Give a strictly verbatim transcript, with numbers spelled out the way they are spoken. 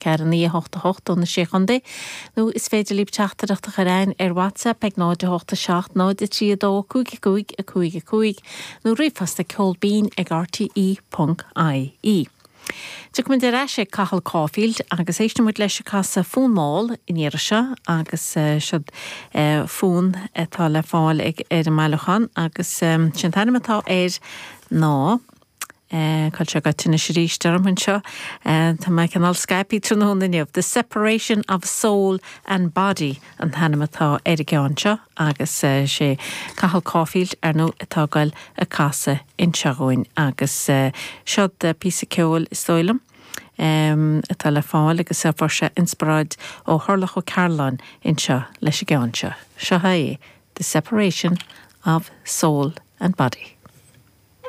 ceathair naoi a hocht a hocht ó na Sé Chontae, nó is féidir libh teachtaireacht a chur chugainn ar WhatsApp ag náid a hocht a seacht náid a trí a dó cúig a cúig a cúig a cúig nó ríomhphost ag ceol binn ag RTE ponc IE. Tiocfaimid ar ais ag Cathal Caulfield agus éistfimid leis ag casadh fonn mall an iarraidh seo agus siod fonn atá le fáil ag ar an mbailiúchán agus sin an t-ainm atá air ná Cá bhfuil sé gaibhte anois arís orm anseo. Tá mé cineál scaipthe tráthnóna inniu. The Separation of Soul and Body an t-ainm atá ar an gceann seo agus sé Cathal Caulfield ar ndóigh atá ag goil ag casadh anseo dhúinn agus siod píosa ceoil is dóigh liom atá le fáil agus a fuair sé inspioráid ó Thurlough Ó Cearláin anseo leis an gceann seo. Seo é The Separation of Soul and Body.